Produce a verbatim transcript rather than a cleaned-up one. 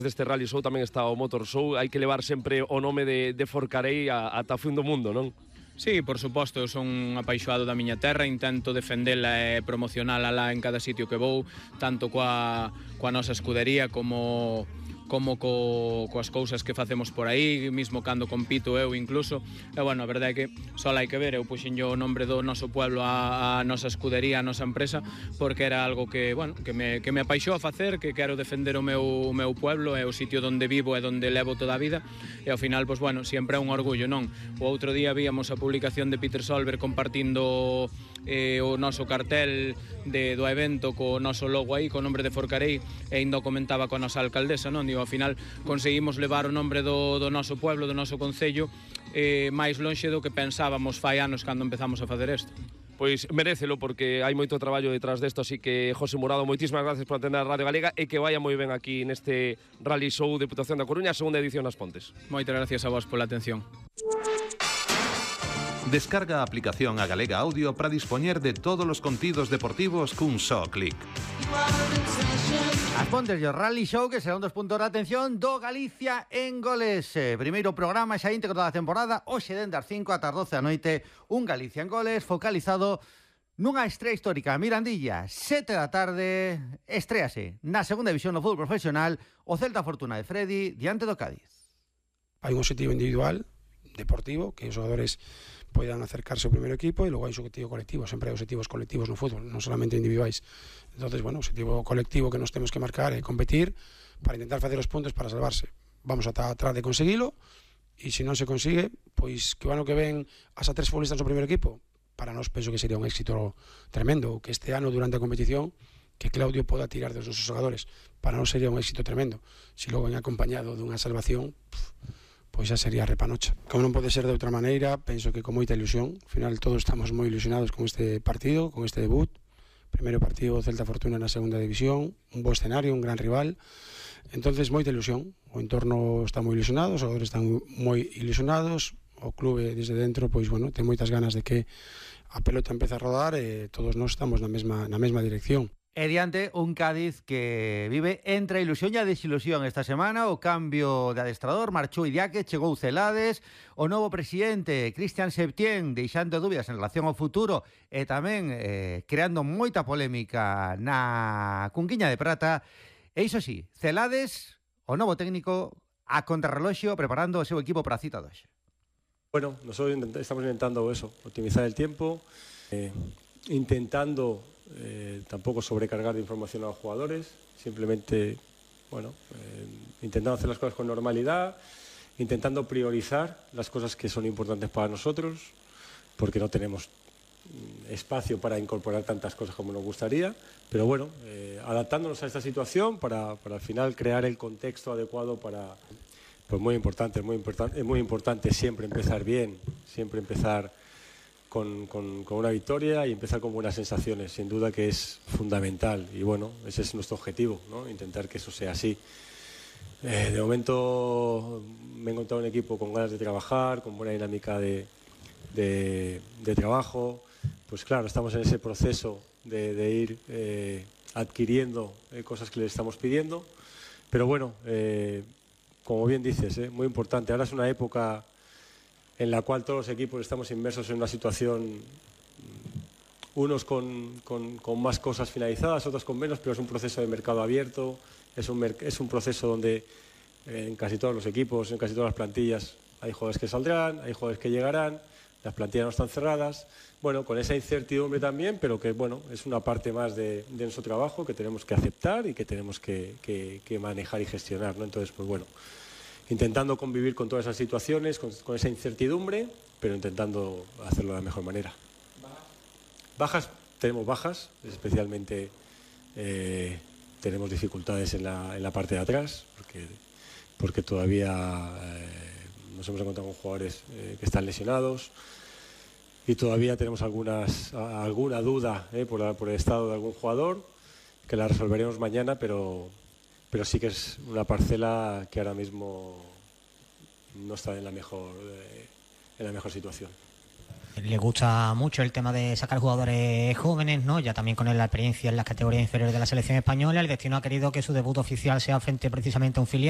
Deste Rally Show tamén está o Motor Show, hai que levar sempre o nome de, de Forcarei ata o fin do mundo, non? Sí, por suposto, eu son un apaixoado da miña terra, intento defendela e promocionala lá en cada sitio que vou, tanto coa, coa nosa escudería como como co, coas cousas que facemos por aí, mismo cando compito eu incluso. E bueno, a verdade é que só hai que ver, eu puxenlle o nombre do noso pueblo a, a nosa escudería, a nosa empresa, porque era algo que, bueno, que me, que me apaixou a facer, que quero defender o meu, o meu pueblo, é o sitio onde vivo e onde levo toda a vida, e ao final, pois bueno, sempre é un orgullo, non? O outro día víamos a publicación de Peter Solberg compartindo eh, o noso cartel de, do evento co noso logo aí, co nombre de Forcarei, e ainda o comentaba coa nosa alcaldesa, non? Digo, ao final conseguimos levar o nombre do, do noso pueblo, do noso concello, eh, máis lonxe do que pensábamos fai anos cando empezamos a facer isto. Pois merécelo, porque hai moito traballo detrás desto, así que José Murado, moitísimas gracias por atender a Radio Galega e que vaya moi ben aquí neste Rally Show Deputación da Coruña, segunda edición nas Pontes. Moitas gracias a vos pola atención. Descarga a aplicación a Galega Audio para dispoñer de todos os contidos deportivos cun só clic. As Pontes e o Rally Show, que será un dos puntos de atención do Galicia en Goles. Eh, primeiro programa xa íntegro da temporada, hoxe dende as cinco ata as doce da noite, un Galicia en Goles focalizado nunha estrea histórica. Mirandilla, sete da tarde, estréase na segunda división do fútbol profesional o Celta Fortuna de Freddy diante do Cádiz. Hai un objetivo individual, deportivo, que os xogadores poidan acercarse ao primeiro equipo, e logo hai un objetivo colectivo, sempre hai objetivos colectivos no fútbol, non solamente individuais. Entonces, bueno, o objetivo colectivo que nos temos que marcar é competir para intentar facer os puntos para salvarse. Vamos ata atrás de conseguilo, e se non se consigue, pois que o ano que ven as a tres futbolistas no primeiro equipo, para nós penso que sería un éxito tremendo, que este ano durante a competición que Claudio poda tirar dos nosos xogadores, para nós sería un éxito tremendo. Se logo ven acompañado dunha salvación, pff, pois xa sería repanocha. Como non pode ser de outra maneira, penso que con moita ilusión. Ao final todos estamos moi ilusionados con este partido, con este debut. Primeiro partido Celta Fortuna na segunda división, un bo escenario, un gran rival. Entonces moita ilusión. O entorno está moi ilusionado, os xogadores están moi ilusionados, o clube desde dentro, pois bueno, ten moitas ganas de que a pelota empece a rodar e todos nós estamos na mesma na mesma dirección. E diante un Cádiz que vive entre a ilusión e a desilusión esta semana. O cambio de adestrador, marchou Idiáquez, chegou Celades, o novo presidente Cristian Septién deixando dúbidas en relación ao futuro e tamén eh, creando moita polémica na Cunquiña de Prata. E iso sí, Celades, o novo técnico, a contrarreloxio preparando o seu equipo para a cita de hoxe. Bueno, nosotros estamos intentando eso, optimizar el tiempo, eh, intentando Eh, tampoco sobrecargar de información a los jugadores, simplemente, bueno, eh, intentando hacer las cosas con normalidad, intentando priorizar las cosas que son importantes para nosotros, porque no tenemos espacio para incorporar tantas cosas como nos gustaría, pero bueno, eh, adaptándonos a esta situación para, para al final crear el contexto adecuado para, pues muy importante, muy importante, es muy importante siempre empezar bien, siempre empezar Con, con, con una victoria y empezar con buenas sensaciones, sin duda que es fundamental, y bueno, ese es nuestro objetivo, ¿no? Intentar que eso sea así. Eh, de momento me he encontrado un equipo con ganas de trabajar, con buena dinámica de, de, de trabajo, pues claro, estamos en ese proceso de, de ir eh, adquiriendo eh, cosas que le estamos pidiendo, pero bueno, eh, como bien dices, eh, muy importante, ahora es una época en la cual todos los equipos estamos inmersos en una situación, unos con, con, con más cosas finalizadas, otros con menos, pero es un proceso de mercado abierto, es un, es un proceso donde eh, en casi todos los equipos, en casi todas las plantillas, hay jugadores que saldrán, hay jugadores que llegarán, las plantillas no están cerradas, bueno, con esa incertidumbre también, pero que bueno, es una parte más de, de nuestro trabajo que tenemos que aceptar y que tenemos que, que, que manejar y gestionar, ¿no? Entonces, pues bueno, intentando convivir con todas esas situaciones, con, con esa incertidumbre, pero intentando hacerlo de la mejor manera. Bajas, tenemos bajas, especialmente eh, tenemos dificultades en la, en la parte de atrás, porque, porque todavía eh, nos hemos encontrado con jugadores eh, que están lesionados y todavía tenemos algunas, alguna duda eh, por, la, por el estado de algún jugador, que la resolveremos mañana, pero... pero sí que es una parcela que ahora mismo no está en la mejor, eh, en la mejor situación. Le gusta mucho el tema de sacar jugadores jóvenes, ¿no? Ya también con la experiencia en las categorías inferiores de la selección española. El destino ha querido que su debut oficial sea frente precisamente a un filial.